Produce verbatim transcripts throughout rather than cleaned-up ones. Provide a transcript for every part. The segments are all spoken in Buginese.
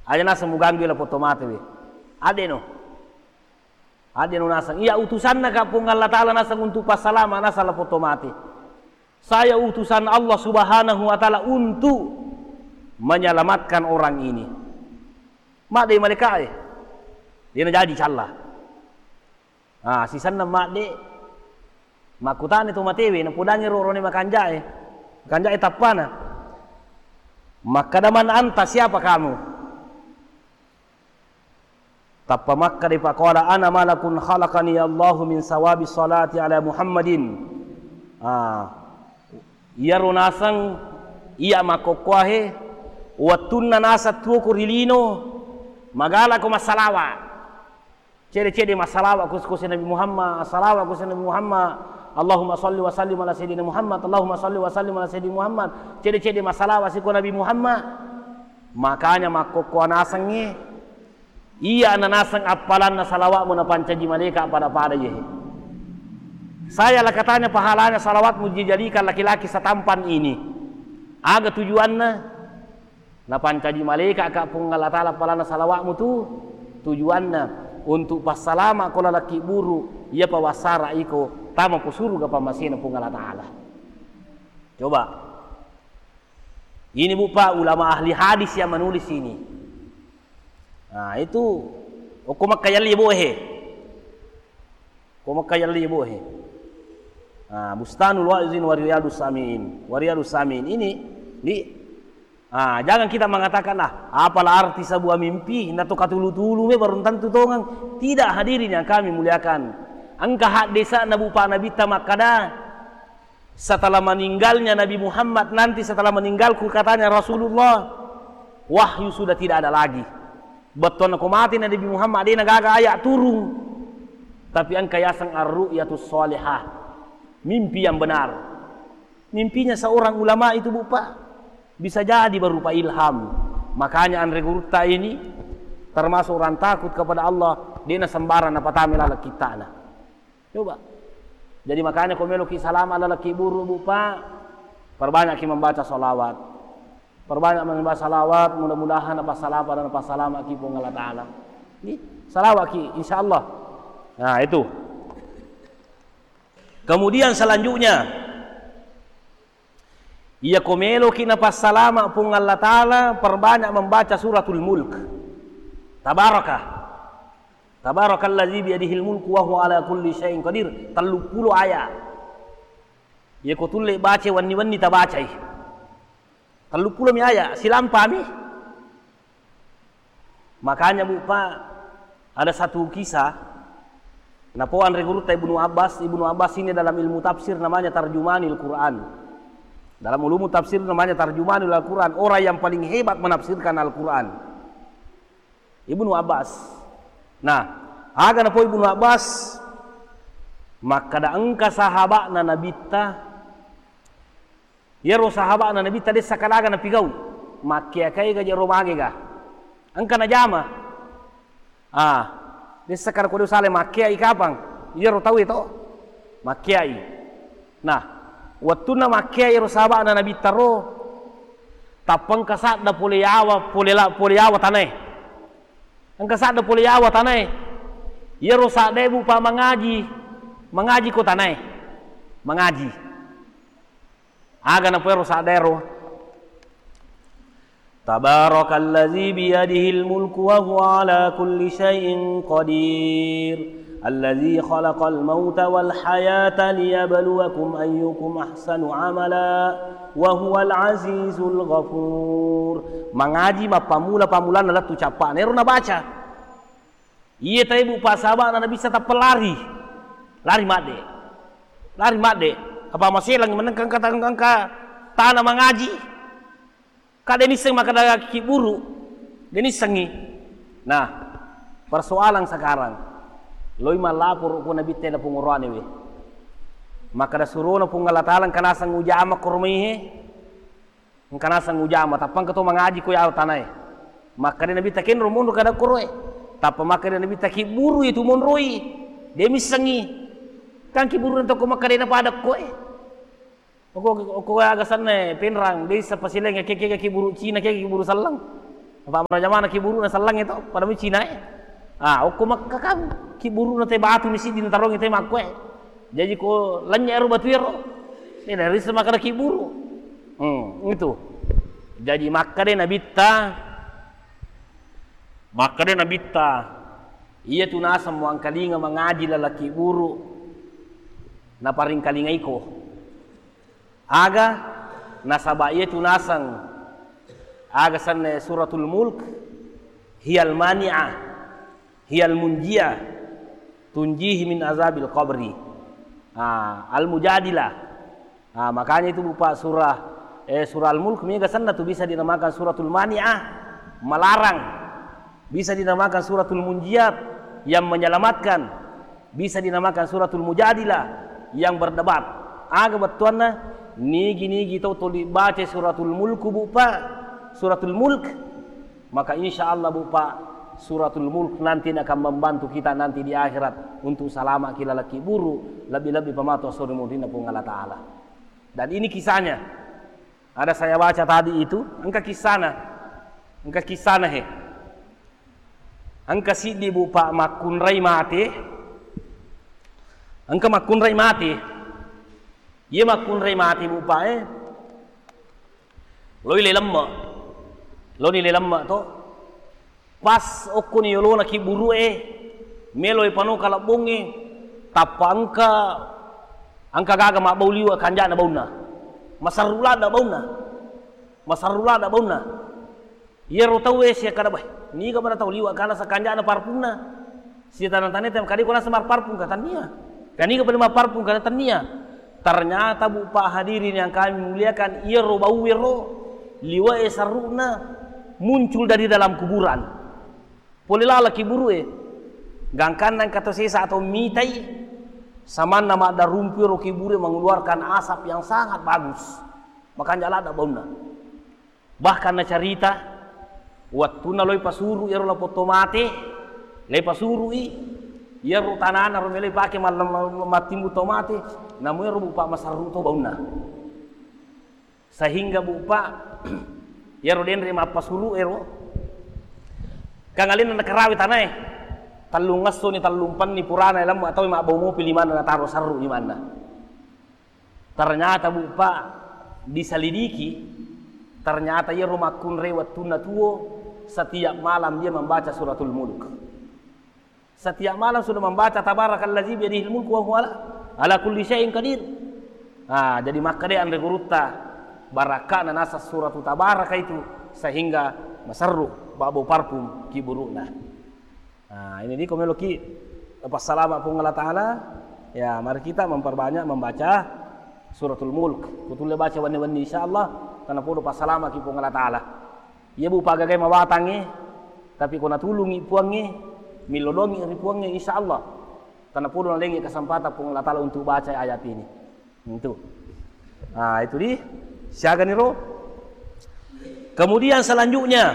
Aja naseng muganggu la foto mate we. Adeno. Adeno naseng. Iya utusanna ka Puang Allah Ta'ala naseng untuk passalama naseng la foto mate. Saya utusan Allah Subhanahu wa Ta'ala untuk menyelamatkan orang ini. Madde malaika e. Dena jaji calla. Ah, sisenna madde makkutana to matewe, napodangi ro-, rone makanjae. Makanjae tappana. Makkada, "Man anta, siapa kamu?" Tappa makkada, "Faqala ana malakun khalaqani Allahu min sawabi salati ala Muhammadin." Ah, iyaro naseng iya makkokkoahe, wettunna naseng tuo ko ri lino, magalako massalawa. Cede-cede massalawa ku, ku Nabi Muhammad, assalawa ku Nabi Muhammad. Allahumma salli wa sallim ala sayyidina Muhammad. Allahumma salli wa sallim ala sayyidina Muhammad. Cede-cede massalawa siko Nabi Muhammad. Makanya makkokkoa nasengnge, iya na naseng appalanna salawatmu napancaji malaika pada-pada yehe. Saya lakatanya pahalanya salawatmu dijadikan laki-laki setampan ini. Aga tujuanna? Napancaji malaika ka Puang Allah Ta'ala appalanna salawatmu tu, tujuanna untuk passalama ko laleng kibburu, iya pawassara iko tama ko suruga pammasena Puang Allah Ta'ala. Coba. Ini, Bu, Pak, ulama ahli hadis yang menulis ini. Nah, itu okko makkayalli, Bu, he. Ko makkayalli, Bu, he. Nah, Bustanul Wa'izin wa Riyadus Sami'in. Wa Riyadus Sami'in. Ini, di, ah, jangan kita mengatakan, "Ah, apalah arti sebuah mimpi? Nato katulu-tulu me baru tentu tongeng." Tidak, hadirin yang kami muliakan. Engka haddesa'na, Bu, Pak, Nabitta makkada, setelah meninggalnya Nabi Muhammad, nanti setelah meninggalku, katanya Rasulullah, wahyu sudah tidak ada lagi. Bettuanna ko mate Nabi Muhammad, de' na gaga ayat turun. Tapi engka yaseng ar-ru'yatus salihah, mimpi yang benar. Mimpinya seorang ulama itu, Bu, Pak, bisa jadi berupa ilham. Makanya anre gurutta ini termasuk orang takut kepada Allah, de' na sembarang napatama laleng kitta'na. Coba. Jadi makanya ko meloki salama laleng kibburu, Bu, Pak, perbanyakki membaca salawat. Perbanyak membaca salawat, mudah-mudahan napassalama dan napassalamaki Puang Allah Ta'ala. Ini salawatki, insya Allah. Nah, itu. Kemudian selanjutnya, iya ko meloki napassalama Puang Allah Ta'ala, perbanyak membaca Suratul Mulk. Tabaraka. Tabarakalladzi biyadihil mulku wa huwa ala kulli syai'in qadir. Telluppulo ayat. Iya ko tulle baca wenni-wenni tabacai. Telluppulo mi ayat, silampami. Makanya, Bu, Pak, ada satu kisah, napoanre gurutta Ibnu Abbas. Ibnu Abbas ini dalam ilmu tafsir namanya tarjumanil Quran. Dalam ulumu tafsir namanya tarjumanil Al-Quran, orang yang paling hebat menafsirkan Al-Quran. Ibnu Abbas. Nah, aga napo Ibnu Abbas, makkada engka sahaba'na Nabitta, iyaro sahaba'na Nabitta dessa kadaga napigau, makkeakai ga jero mage ga. Engka najama. Ah, dessa kada kode usale makkeai kapang. Iyaro tau itu makkeai. Nah, wettunna makkeai iyaro sahaba'na Nabitta ro, tappa engka sadda pole yawa, pole la-, pole yawa tanae. Engka sadda pole yawa tanae. Iyaro saddae, Bu, Pak, mangaji. Mangaji ko tanae. Mangaji. Aga napoero saddaero. Tabarakalladzi biyadihil mulku wa huwa ala kulli syai'in qadir. Alladzi khalaqal mauta wal hayata liyabluwakum ayyukum ahsanu amala wa huwal azizul ghafur. Mangaji mappammula-pammulanna lettu cappa'na. Ero nabaca. Iye tae, Bu, Pak, sahaba'na Nabitta tappa lari. Lari madde. Lari madde. Apa maselang menengka engka, engka tana mangaji. Ka de' nisseng makkada kibburu. De' nissengngi. Nah, persoalan sekarang. Loi mallaporo ko Nabitta na pungoroane we. Makkada surona Puang Allah Ta'ala engka naseng ujama koromaihe. Engka naseng ujama, tappa engka to mangaji ko yawa tanae. Makkeda Nabitta, "Kenro monro kada koroe." Tappa makkeda Nabitta, "Kibburu itu monroi." De' missengngi. Kan kibburu na tokko makkeda na pada koe. Oko, oko aga sanna penrang, de' issa pasilenga ke, ke, ke kibburu Cina, ke, ke kibburu sallang. Apa maraja mana kiburu na sallang itu, pada mi Cina e. Ah, okko Makka kan kiburu na te batu mi siddi na tarong te makko e. Jadi ko lenya ero batu ero. Ini dari semakna kiburu. Hmm, itu. Jadi Makka de nabitta. Makka de nabitta. Iya tu naseng muangkalinga mangaji lalaki buru. Naparingkalingaiko. Aga nasaba iya tu naseng aga sanna Suratul Mulk, hiyal mani'ah, hiyal munjiyah, tunjihi min azabil qabri. Ah, Al-Mujadilah. Ah, makanya itu berupa surah, eh, surah Al-Mulk, mega sanna tu bisa dinamakan Suratul Mani'ah, melarang. Bisa dinamakan Suratul Munjiyat, yang menyelamatkan. Bisa dinamakan Suratul Mujadilah, yang berdebat. Aga bettuanna, nigi-nigi tau tuli baca Suratul Mulk, Bu, Pak. Suratul Mulk. Maka insya Allah, Bu, Pak, Suratul Mulk nanti akan membantu kita nanti di akhirat untuk salama ki lalaki buru, lebih-lebih pamatu asori murinna Puang Allah Ta'ala. Dan ini kisahnya. Ada saya baca tadi itu, engka kisahna. Engka kisahna, he. Engka siddi, Bu, Pak, makkunrai mate. Engka makkunrai mate. Iya makkunrai mate, Bu, Pak, eh. Loi le lemme. Loni le lemme to. Pas okkoni yolona kibburu'e, meloi pano kalebbongnge, tappa engka, engka gaga mabbau liwe kanja'na baunna. Masarru ladda baunna. Masarru ladda baunna. Iyaro tauwe siakkada, "Bah, niga pada tau liwe kana sakanja'na parpunna?" Sitaneng-taneng tem kadi ko naseng marparpung ka, tannia. Kaniga pada marparpung ka, tannia. Ternyata, Bu, Pak, hadirin yang kami muliakan, iyaro bauwero liwe'e sarru'na muncul dari dalam kuburan. Pole lala kiburu'e. Gangkanna engka to sesa atau mitai, samanna maddarumpu ero kiburu'e mengeluarkan asap yang sangat bagus. Makanja ladda baunna. Bahkan nacarita, wettunna loi pasuru ero lapong to mate, le pasuru'i, iyaro tanana ro meloi pake mal-, mal-, mattimbu to mate, namu ero, Bu, Pak, masarru to baunna. Sehingga, Bu, Pak, iyaro denre mappasuru ero, kang alenna nakarawi tanae, tellung essoni, tellung penni purana lemmu atau mabbau mopi limanna nataro sarru limanna. Ternyata, Bu, Pak, diselidiki, ternyata iyaro makkunrai wettunna tuo, setiap malam dia membaca Suratul Mulk. Setiap malam sudah membaca Tabarakallazi biyadihil mulku wa huwa ala, ala kulli syai'in qadir. Ah, jadi makkeda anre gurutta, barakka'na naseng Suratu Tabaraka itu, sehingga maserru babo parfum kiburu'na. Nah, ini di ko meloki passalama Puang Allah Ta'ala, ya, mari kita memperbanyak membaca Suratul Mulk. Kutulle baca wenni-wenni, insya Allah, tanapodo passalama ki Puang Allah Ta'ala. Iya, Bu, pagagai mawatangnge, tapi ko natulungi Puangnge, millodongi ri Puangnge, insya Allah, tanapodo nalengi kesempatan Puang Allah Ta'ala untuk baca ayat ini. Itu. Nah, itu di siaganiro. Kemudian selanjutnya,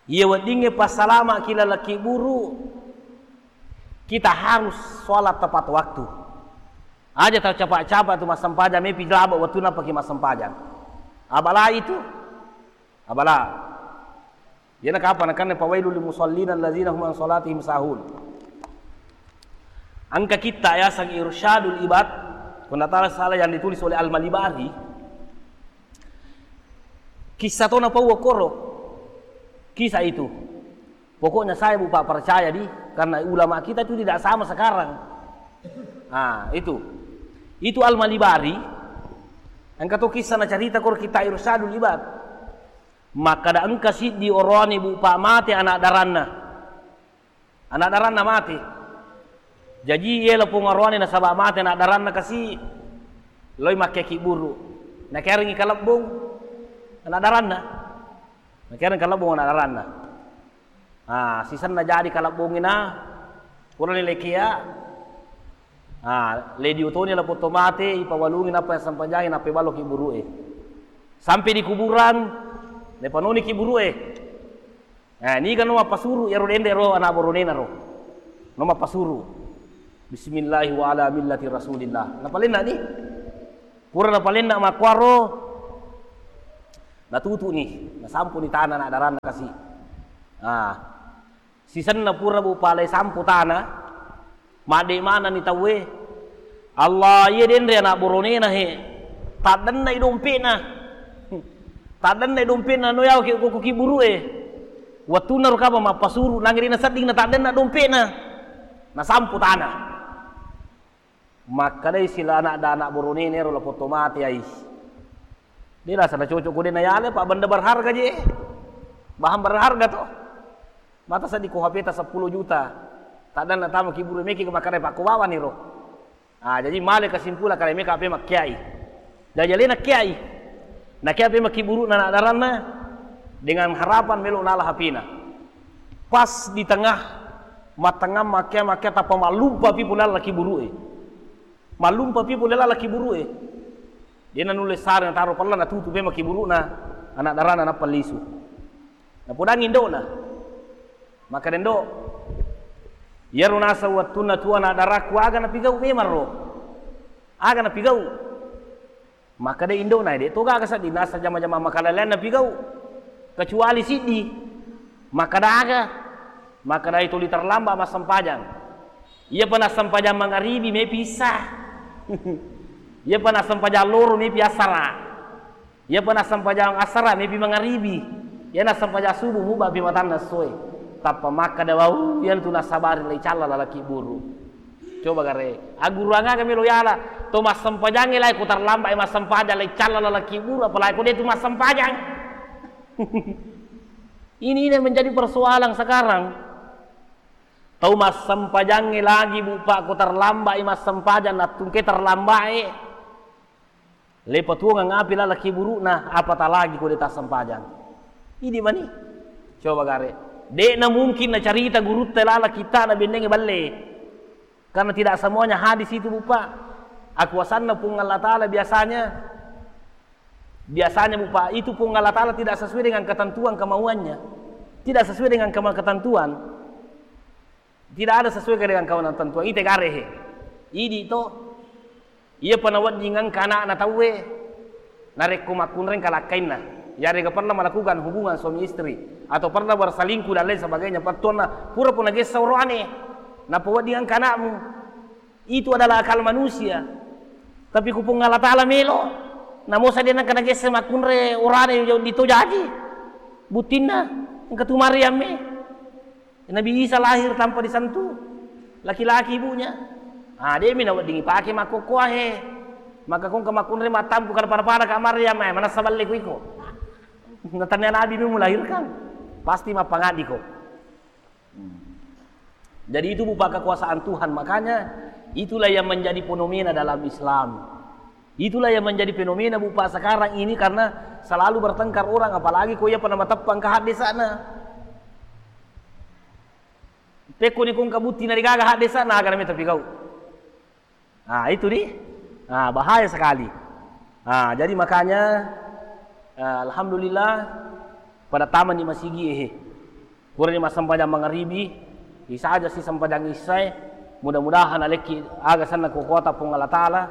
iya weddingnge passalama ki lalaki buru, kita harus sholat tepat waktu. Aja tau capa-capa tu massempajang, mepi laba wettunna paki massempajang. Abala itu, abala. Iyana kapang nakanne, "Fawailul lil musallin alladzina hum an sholatihim sahun." Engka kitta yaseng Irsyadul Ibad, ko nda salah, yang ditulis oleh Al-Malibari. Kisah to napau koro. Kisah itu. Pokoknya saya, Bu, Pak, percaya di, karena ulama kita itu tidak sama sekarang. Ah, itu. Itu Al-Malibari, engka to kisah nacarita koro kitta Irsyadul Ibad. Makkada engka siddi oroane, Bu, Pak, mate anak daranna. Anak daranna mate. Jaji, yelo pong oroane nasaba mate anak daranna kasi, loi makkeki buru. Nakerengi kalebbong anak daranna. Nakereng kalebbong anak daranna. Ah, sisenna jadi kalebbongina, purani lekea. Ah, lediutoni lapong to mate, ipawalungi nappa sempajang, nappa baloki burue. Sampai di kuburan, lepanoni ki burue. Eh, niga no mappasuru iyaro denre ro anak boronena ro. No mappasuru. Bismillahi wa ala millati Rasulillah. Napalenna ni. Pura napalenna makkuaro. Natutuni, nasampuni tana anak daranna kasi. Ah, sisenna pura, Bu, palai sampu tana, madde manani tauwe. Allah, iya denre anak boronena he. Taddennai dompetna. Taddennai dompetna, no yau ki, ko, ko kiburu'e. Wattunna ro kaba mappasuru, nangri nasedding na taddenna dompetna. Nasampu tana. Makkedai sila anak da anak boronena ero, lapotto mate ai. De rasa na cocok ko de nayale, Pak, benda berharga je. Bahan berharga to. Mata seddi ko H P ta seppulo juta. Taddanna tama kiburu meki ko makkeda pakko bawani ro. Ah, jadi male kesimpulan kare meka H P makkiai. Jadi alena kiai. Nakia H P makkiburu'na anak daranna dengan harapan melo nala H P-na. Pas di tengah, mattengah makkia, makkia tappa mallumpa pi pole lala kiburu'e. Mallumpa pi pole lala kiburu'e. De nanulle sare nataro pella, natutu pe makkiburu'na anak daranna nappa lisu. Napodangi indo'na. Makkeda, "Indo', iyaro naseng wettunna tuo anak darakku, aga napigau memang ro? Aga napigau?" Makkeda indo'na, "De to gaga seddi, naseng jama-jama makalalean napigau. Kecuali siddi." Makkeda, "Aga?" Makkeda, "Tuli terlambat massempajang. Iyapa nassempajang mangaribi mepi issa. Iyapa nassempajang loro mepi assara. Iyapa nassempajang assara mepi mangaribi. Iya nassempajang subuh muba pi matanna essoe." Tappa makkeda, "Wau, iyantu nassabari lai calla lalaki buru." Coba gare, agguruang aga melo yala? To massempajangnge lai ko terlambat massempajang lai calla lalaki buru, apalagi ko de tu massempajang. Ini, ini yang menjadi persoalan sekarang. Tau massempajangnge lagi, Bu, Pak, ko terlambat massempajang, nattungke terlambat e. Le patuongang api lalaki buru'na, apata lagi ko de tassempajang. Idi mani. Coba gare. De'na mungkin nacarita gurutta lalaki ta na bennenge balle. Karena tidak semuanya hadis itu, Bu, Pak. Akuasanna Puang Allah Ta'ala biasanya, biasanya, Bu, Pak, itu Puang Allah Ta'ala tidak sesuai dengan ketentuan kemauannya. Tidak sesuai dengan kema-, ketentuan. Tidak ada sesuai dengan kemauan ketentuan. Ite gare he. Idi to. Iyapa nawedding engka ana'na tauwe, narekko makkunrai engka lakkainna, yarega pernah melakukan hubungan suami istri, atau pernah berselingkuh dan lain sebagainya, pettuanna pura pun nagessa oroane, nappa wedding engka ana'mu, itu adalah akal manusia. Tapi ku Puang Allah Ta'ala melo, namosa de nengka nagessa makkunrai orane di to jaji, buttinna engka tu Maryam e. Nabi Isa lahir tanpa disentuh laki-laki ibunya. Ah, de mi nawedding ipake makkokkoa he. Maka kongka makkunrai mattampu kada pada-pada ka Maryam, eh, manassa balle ku iko. Natannia Nabi mi melahirkan. Pasti mappangaddi ko. Hmm. Jadi itu, Bu, Pak, kekuasaan Tuhan. Makanya itulah yang menjadi fenomena dalam Islam. Itulah yang menjadi fenomena, Bu, Pak, sekarang ini, karena selalu bertengkar orang, apalagi ko iyapa namateppang ka haddesa'na. Pekko ni kongka butti na degaga haddesa'na, aga nami tapigau. Ah, itu di. Ah, bahaya sekali. Ah, jadi makanya, eh, alhamdulillah, pada tamani masigi ehe. Purani massempajang mangaribi, isa aja si sempajang issae, mudah-mudahan alekki aga senna ko kota Puang Allah Ta'ala,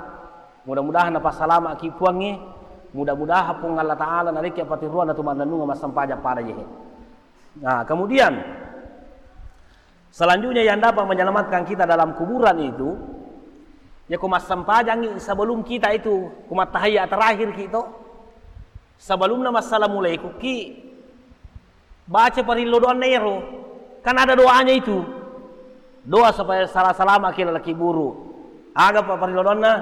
mudah-mudahan napassalama'ki Puangnge, mudah-mudahan Puang Allah Ta'ala nalekki apatiruanna tu mannennunga massempajang pada jehe. Nah, kemudian selanjutnya yang dapat menyelamatkan kita dalam kuburan itu, ya ko massempajangi sebelum kita itu, ko mattahiyya terakhir ki to, sebelumna massalamualaikum ki, baca parillo doanna ero. Kan ada doanya itu. Doa supaya sala-, salama ki lalaki buru. Aga pa parillo doanna?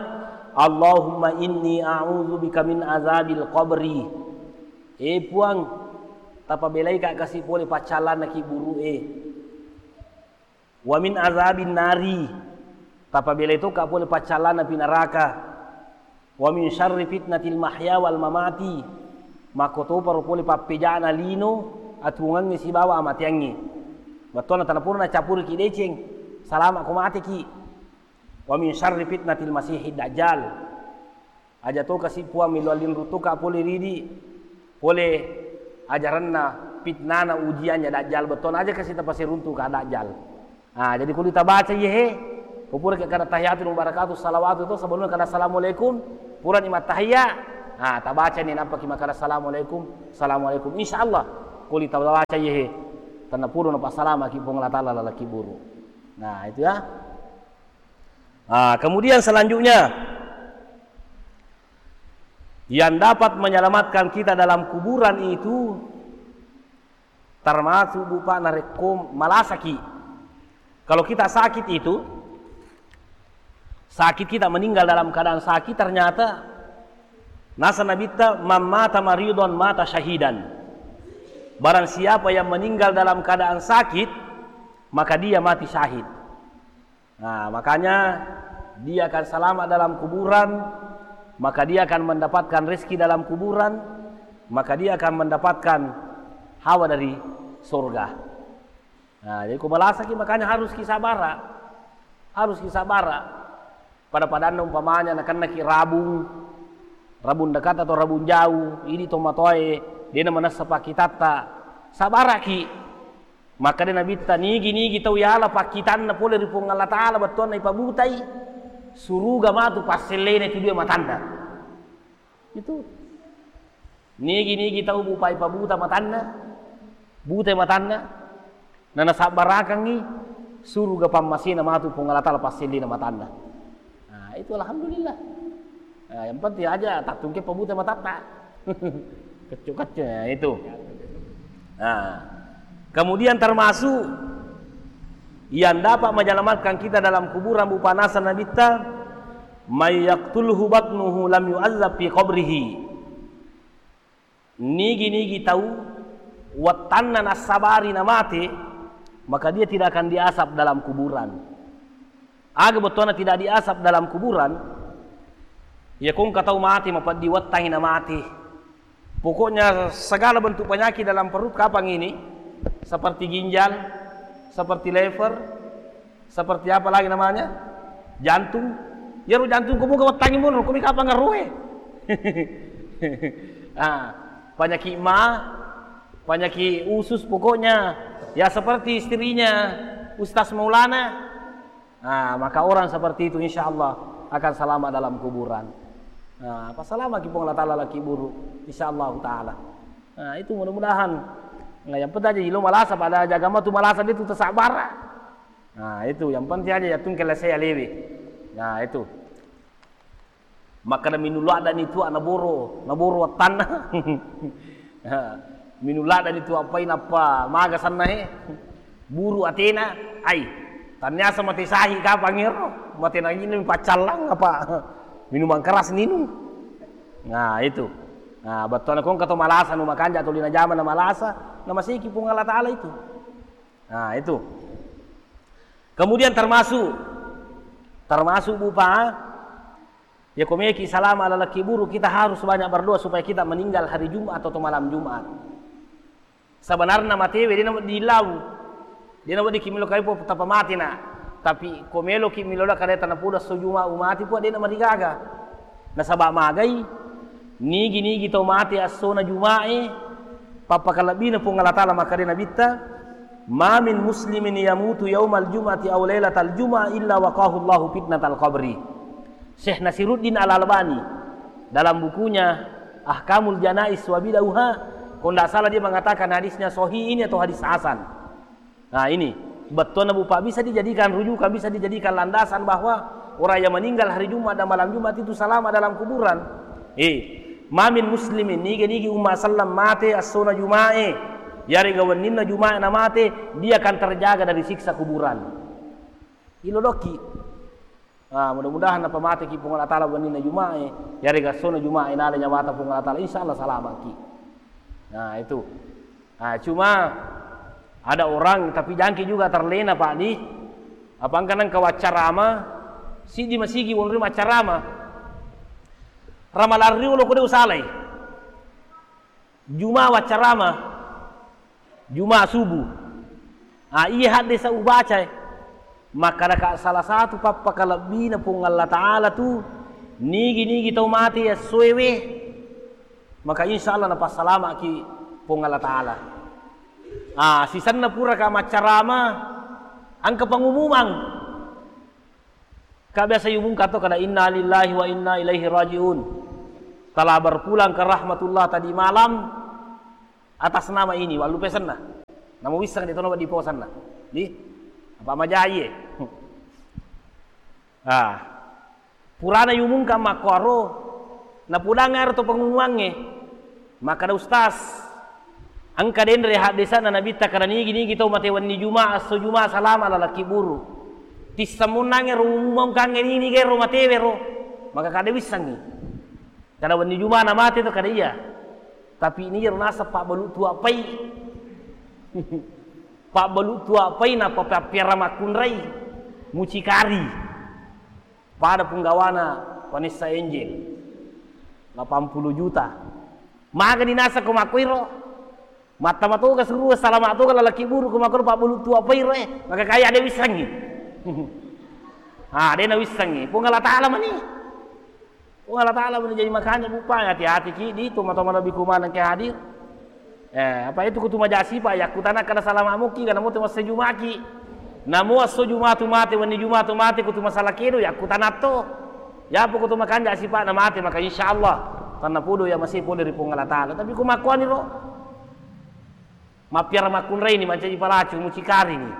"Allahumma inni a'udzubika min azabil qabri." Eh Puang, tapabelai ka kasi pole paccallanna ki buru e. "Wa min azabin nari." Tapabelai to ka pole paccallanna pi naraka. "Wa min syarri fitnatil mahya wal mamati." Makkotoparo pole pappejana lino, atuwongengnge sibawa amateangnge. Wettuanna tana pura nacappuriki deceng, salama ko mateki. "Wa min syarri fitnatil masihid dajjal." Aja to kasi Puang millau linrung to ka pole ridi, pole ajaranna, fitnana, ujiannya dajjal, bettuanna aja kasi tapase runtu ka dajjal. Ah, jadi kuli tabaca iye he, ko pura ke kada tahiyatul mubarakatuh salawatu to, sebelumnya kada assalamualaikum, purani mattahiyya, Ah, tabacani nappaki makkada assalamualaikum, assalamualaikum. Insya Allah, kuli tabaca iyehe, tennapodo napassalamaki Puang Allah Ta'ala lalaki buru. Nah, itu ya. Ah, kemudian selanjutnya, yang dapat menyelamatkan kita dalam kuburan itu termasuk, Bu, Pak, narekko malasaki. Kalau kita sakit itu, sakit, kita meninggal dalam keadaan sakit, ternyata nasa Nabitta, "Man mata maridon mata syahidan." Barang siapa yang meninggal dalam keadaan sakit, maka dia mati syahid. Nah, makanya dia akan selamat dalam kuburan, maka dia akan mendapatkan rezeki dalam kuburan, maka dia akan mendapatkan hawa dari surga. Nah, jadi ko malasaki, makanya harus ki sabara. Harus ki sabara. Pada-padanna umpamanya nakennaki rabung, rabung dekat atau rabung jauh, idi tomatoae, dena manessa pakkitatta. Sabaraki. Makkeda Nabitta, nigi-nigi tau yala pakkitanna pole ri Puang Allah Ta'ala, bettuanna ipabutai, suruga matu passellena itu dua matanna. Itu. Nigi-nigi tau bupai pabuta matanna, butai matanna, na nasabbarakangngi, suruga pammasena matu Puang Allah Ta'ala passellena matanna. Nah, itu alhamdulillah. Nah, yang penting aja tattungke pabuta matatta. Keccu-keccu, ya, itu. Nah, kemudian termasuk yang dapat menyelamatkan kita dalam kuburan, Bu, Pa, nasa Nabitta, "May yaqtulhu batnuhu lam yu'adzab fi qabrihi." Nigi-nigi tau wettanna nassabari namate, maka dia tidak akan diazab dalam kuburan. Aga bettuanna tidak diazab dalam kuburan? Ya, ko engka tau mate mapeddi wettangi namate. Pokoknya segala bentuk penyakit dalam perut kapang ini, seperti ginjal, seperti liver, seperti apa lagi namanya? Jantung. Iyaro jantung ko muga wettangi monro, ko mi kapang ngarue. Ah, penyakit ma, penyakit usus pokoknya. Ya, seperti istrinya Ustaz Maulana. Nah, maka orang seperti itu insya Allah akan selamat dalam kuburan. Nah, passalamaki Puang Allah Ta'ala laki buru, insya Allah Ta'ala. Nah, itu mudah-mudahan. Nah, yang penting aja ilo malasa, pada jaga matu malasa dia tu tersabara. Nah, itu yang penting aja ya tungke lese ya lewe. Nah, itu. Makkeda minulladani tu naboro, naboro wattanna. Minulladani tu appai nappa maga sanna he. Buru atena, ai. Tanniasa mate sahi kapang ero, mate nangini paccallang apa. Minuman keras ninung. Nah, itu. Nah, bettuanna ko engka to malasa nu makanja tuli najama na malasa, na maseki Puang Allah Ta'ala itu. Nah, itu. Kemudian termasuk, termasuk, Bu, Pa, ya, ko meki salama lalaki buru, kita harus banyak berdoa supaya kita meninggal hari Jumat atau malam Jumat. Sebenarnya matewe dena dillau, dena weddikki melo kalepo tappa mate na. Tapi ko meloki melo la kale tanapuda so Jumat umati pua dena marigaga. Nasaba magai, nigi-nigi tau mate essona Jumae, pappakalebbina Puang Allah Ta'ala makkeda Nabitta, "Ma min muslimin yamutu yaumal jum'ati aw lailatal jum'ah illa waqahu Allahu fitnatal qabri." Syekh Nasiruddin Al-Albani dalam bukunya Ahkamul Janaiz wa Bid'uha, kalau tidak salah dia mengatakan hadisnya sahih ini atau hadis hasan. Nah, ini bettuanna, Bu, Pa, bisa dijadikan rujukan, bisa dijadikan landasan bahwa orang yang meninggal hari Jumat dan malam Jumat itu selamat dalam kuburan. Eh, ma min muslimin, nigi-nigi umma selleng mate essona Jumae, yarega wenninna Jumae namate, dia akan terjaga dari siksa kuburan. Ilo dokki. Ah, mudah-mudahan napamateki Puang Allah Ta'ala wenninna Jumae, yarega essona Jumae nala nyawata Puang Allah Ta'ala, insya Allah salamaki. Nah, itu. Ah, cuma ada orang, tapi jangki juga terlena, Pak, di apa engka nengka waccarama, siddi masigi wonri maccarama. Ramalang riolo ko de usalai. Juma waccarama, Juma subuh. Ah, iya haddesa ubacae. Makkedaka salah satu pappakalebbina Puang Allah Ta'ala tu, nigi-nigi tau mate essoewe, maka insya Allah napassalamaki Puang Allah Ta'ala. Ah, sisenna puraka maccarama, engka pengumuman. Ka biasa yumungka to kada, "Inna lillahi wa inna ilaihi raji'un." Telah berpulang ke rahmatullah tadi malam atas nama ini, wallupesenna. Namo wisseng de tono di posanna. Di apa majai e. Ah. Purana yumungka makkuaro, napudang ero to pengumumangnge. Makkada ustaz, engka denre haddesanna nabitta kada nigi-nigi tau mate wenni Juma, esso Juma salama lalaki buru. Tissammunnangnge ro umumangkangnge nini gero matewe ro. Maka kada wissengngi. Kada wenni Juma na mate to kada iya. Tapi ini ro naseng pabbalu tuappai. Pabbalu tuappai na papappiara makkunrai. Mucikari. Pada punggawana Vanessa Angel, delapan puluh juta. Magani naseng ko makkuiro. Mattama toga surua, salama toga lalaki buru ko makkuiro pabbalu tuappai ro e. Maka kaya de wissengngi. Ah, de na wissengngi. Puang Allah Ta'ala mani. Puang Allah Ta'ala mani. Jadi makanya bupa hati-hati ki di toma-toma lebih kumanang ke hadir. Eh, apa itu kutu maja sipa, yakkutana kada salama muki, kana mo tu masse Jumaki. Namo esso Jumatu mate, wenni Jumatu mate, kutu masalah kedo, yakkutana to. Yapo kutu makanja sipa na mate, maka insyaallah tanna podo ya masih pole ri Puang Allah Ta'ala. Tapi ku makkuani ro. Mappiara makkunrai ni, mancaji palacu, mucikari ni.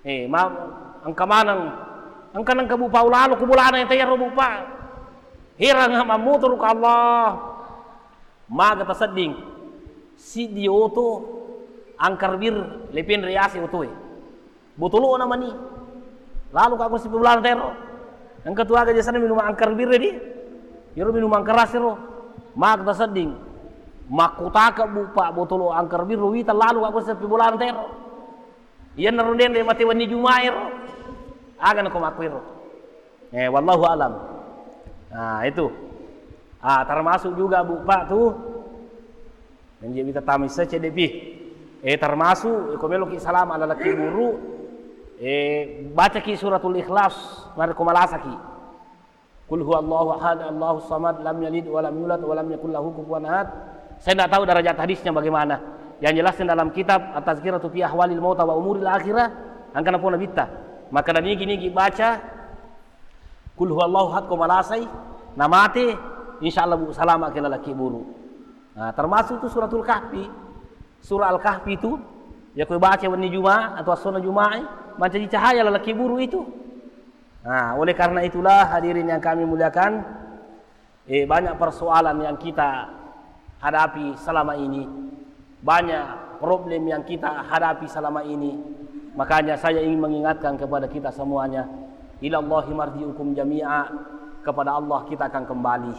Eh, ma-, engka maneng, engka nengka bupa ulalo ku bolana yang tayaro bupa. Herang mammutu ruka Allah. Maga tasedding, siddi oto angkar bir lepenre yase otoe. Botolo'na mani. Lalu ka ko sippe bolana tero. Engka tu aga jasana minum angkar bir di. Iro minum angkar asero. Maga tasedding. Makkutaka bupa botolo angkar bir wita lalu ka ko sippe bolana tero. Iyanaro denre mate wenni Jumae ro. Aga nako makkuiro. Eh, wallahu alam. Nah, itu. Ah, termasuk juga bupa tu. Menjadi kita tamis saja depi. Eh, termasuk ko meloki salama lalaki buru. Eh, bacaki suratul Ikhlas, narekko malasaki. Qul huwallahu ahad, Allahus samad, lam yalid wa lam yulad wa lam yakul lahu kufuwan ahad. Saya tidak tahu derajat hadisnya bagaimana. Yang jelas dalam kitab At-Tazkiratu fi Ahwalil Mauta wa Umuril Akhirah, angkana pona bitta. Maka dan nigi-nigi baca Qul huwallahu ahad ko malasai, namate, insyaallah bu salama ke lalaki buru. Nah, termasuk tu suratul Kahfi. Surah Al-Kahfi itu, ya koe baca wenni Juma atau assona Jumae, mancaji cahaya lalaki buru itu. Nah, oleh karena itulah hadirin yang kami muliakan, eh, banyak persoalan yang kita hadapi selama ini, banyak problem yang kita hadapi selama ini. Makanya saya ingin mengingatkan kepada kita semuanya, ilallahi marji'ukum jami'a, kepada Allah kita akan kembali.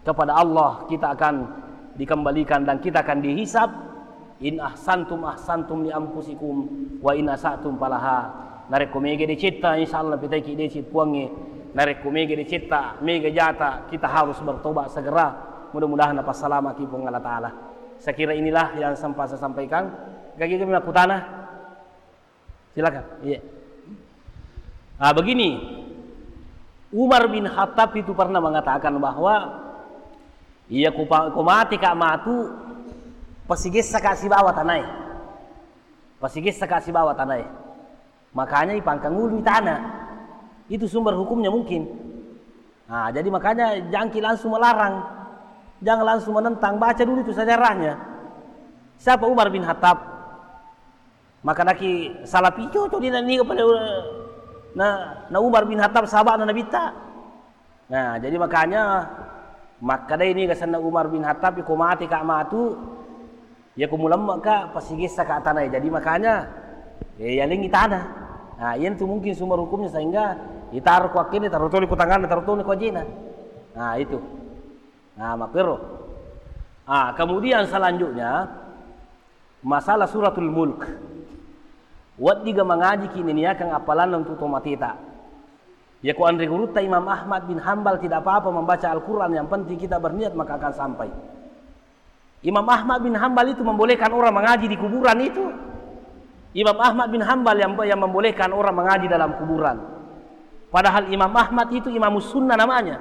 Kepada Allah kita akan dikembalikan dan kita akan dihisab. In ahsantum ahsantum li anfusikum wa in asatum falaha. Narekko mega decetta, insyaallah pitaiki dece puangnge. Narekko mega decetta, mega jata, kita harus bertobat segera. Mudah-mudahan napassalamaki Puang Allah Ta'ala. Saya kira inilah yang sempat saya sampaikan. Gagi kami makutana. Silakan. Iya. Ah, begini. Umar bin Khattab itu pernah mengatakan bahwa, iya, ku pa-, ku mati ka matu, pasigessa ka sibawa tanae. Pasigessa ka sibawa tanae. Makanya ipangkangului tanah. Itu sumber hukumnya mungkin. Nah, jadi makanya jangki langsung melarang. Jangan langsung menentang. Baca dulu itu sejarahnya. Siapa Umar bin Khattab? Maka naki salah pico tu dia niga pada na, na Umar bin Khattab sahabat na Nabitta. Nah, jadi makanya makkadai niga senna Umar bin Khattab, ko mati ka matu, ya ko mulemme ka pasigessa ka tanai. Jadi makanya, ya, yalengi tanah. Nah, iyan tu mungkin sumber hukumnya sehingga itaro ko akkene, taro toni ko tanganna, taro toni ko ajena. Nah, itu. Nah, makkero. Ah, kemudian selanjutnya, masalah Suratul Mulk. Weddiga mangajiki niniakang appalanna untuk tomateta. Yako anre gurutta Imam Ahmad bin Hambal tidak apa-apa membaca Al-Quran, yang penting kita berniat maka akan sampai. Imam Ahmad bin Hambal itu membolehkan orang mengaji di kuburan itu. Imam Ahmad bin Hambal yang, yang membolehkan orang mengaji dalam kuburan. Padahal Imam Ahmad itu Imamus Sunnah namanya.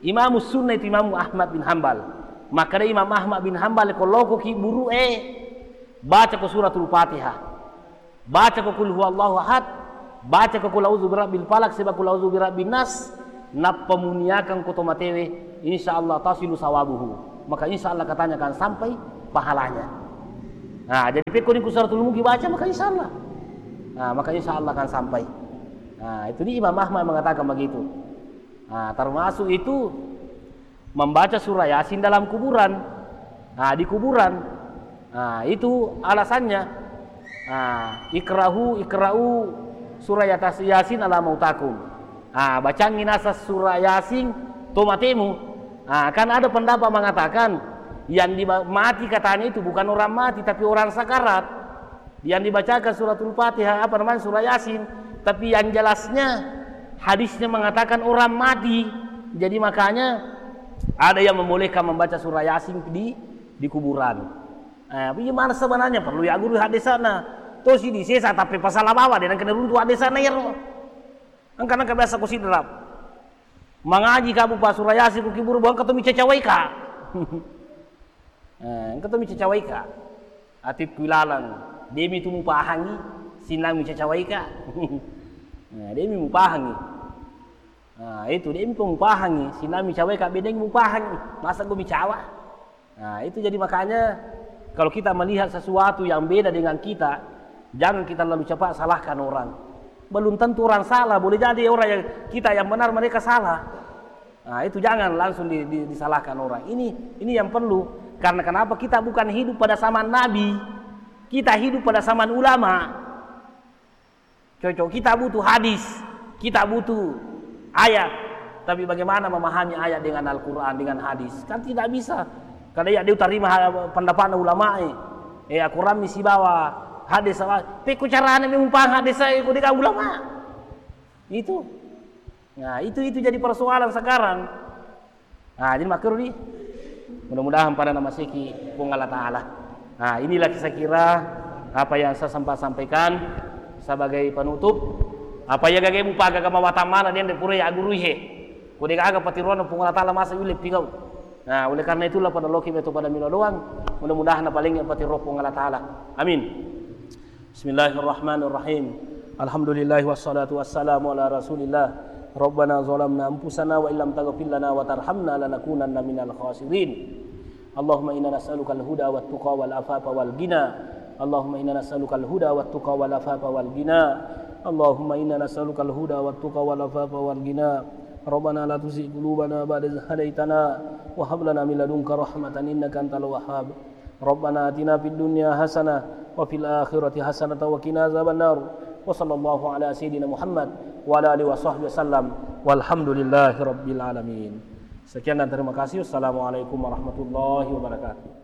Imamus Sunnah itu Imam Ahmad bin Hambal. Makkeda Imam Ahmad bin Hambal, ko lokoki buru'e, baca ko suratul Fatihah. Baca ko kul huwallahu ahad, baca ko kul a'udzu birabbil falaq, seba kul a'udzu birabbin nas. Nappa muniakeng ko to matewe, insya Allah tasilu sawabuhu. Maka insya Allah katanya akan sampai pahalanya. Nah, jadi pekko ni ku suratul mulki baca, maka insya Allah. Nah, maka insya Allah akan sampai. Nah, itu ni Imam Ahmad mengatakan begitu. Nah, termasuk itu membaca surah Yasin dalam kuburan. Nah, di kuburan. Nah, itu alasannya. Nah, ikrahu, ikra'u surah Yatas-, Yasin ala mautakum. Nah, bacangi nasa surah Yasin to matemu. Nah, kan ada pendapat mengatakan yang di-, mati katanya itu bukan orang mati, tapi orang sakarat. Yang dibacakan suratul Fatihah, apa namanya, surah Yasin. Tapi yang jelasnya hadisnya mengatakan orang mati. Jadi makanya ada yang membolehkan membaca surah Yasin di di kuburan. Eh, tapi gimana sebenarnya? Perlu ya guru hadisana. Tosi di sesa tapi pasal apa? Dia nang kena runtu hadisana ya, ro. Engka, engka biasa ku sidrap. Mangaji kamu pa surah Yasin ku kiburu, engka to mi cacawai ka. Eh, engka to mi cacawai ka. Atikku ilalang. Demi tu mupahangi, sinami cacawai ka. Nah, demi mupahangi. Nah, itu demi mupahangi, sinami cacawai ka, bedeng mupahangi. Masa gua mi cawa? Nah, itu jadi makanya kalau kita melihat sesuatu yang beda dengan kita, jangan kita lalu cepat salahkan orang. Belum tentu orang salah, boleh jadi orang yang kita yang benar, mereka salah. Nah, itu jangan langsung di, di, disalahkan orang. Ini ini yang perlu. Karena kenapa? Kita bukan hidup pada zaman Nabi. Kita hidup pada zaman ulama. Cocok, kita butuh hadis, kita butuh ayat. Tapi bagaimana memahami ayat dengan Al-Quran, dengan hadis? Kan tidak bisa. Kada iya dia tarima ha-, pendapatna ulama e. Eh, Al-Quran mi sibawa hadis apa? Pekko carana memang paham hadis saya, ko deka ulama. Itu. Nah, itu itu jadi persoalan sekarang. Nah, jadi makkeru di. Mudah-mudahan pada namaseki Puang Allah Ta'ala. Nah, inilah saya kira apa yang saya sempat sampaikan sebagai penutup. Apa ya gage mupaga kama watamana dia nde pura ya guru he. Ko de gaga patiruan Puang Allah Ta'ala masa yule pigau. Nah, oleh karena itulah pada loki beto pada milo doang. Mudah-mudahan paling yang patiruan Puang Allah Ta'ala. Amin. Bismillahirrahmanirrahim. Alhamdulillah wassalatu wassalamu ala Rasulillah. Rabbana zalamna anfusana wa illam taghfir lana wa tarhamna lanakunanna minal khasirin. Allahumma inna nas'alukal huda wat tuqa wal afafa wal ghina. Allahumma inna nas'alukal huda wat tuqa wal afafa wal ghina. Allahumma inna nas'alukal huda wat tuqa wal afafa wal ghina. Rabbana la tuzigh qulubana ba'da idh hadaytana wa hab lana min ladunka rahmatan innaka antal wahhab. Rabbana atina fid dunya hasanah wa fil akhirati hasanatan wa qina azabannar. Wa sallallahu ala sayyidina Muhammad wa ala alihi wa sahbihi wasallam. Walhamdulillahi rabbil alamin. Sekian dan terima kasih. Wassalamualaikum warahmatullahi wabarakatuh.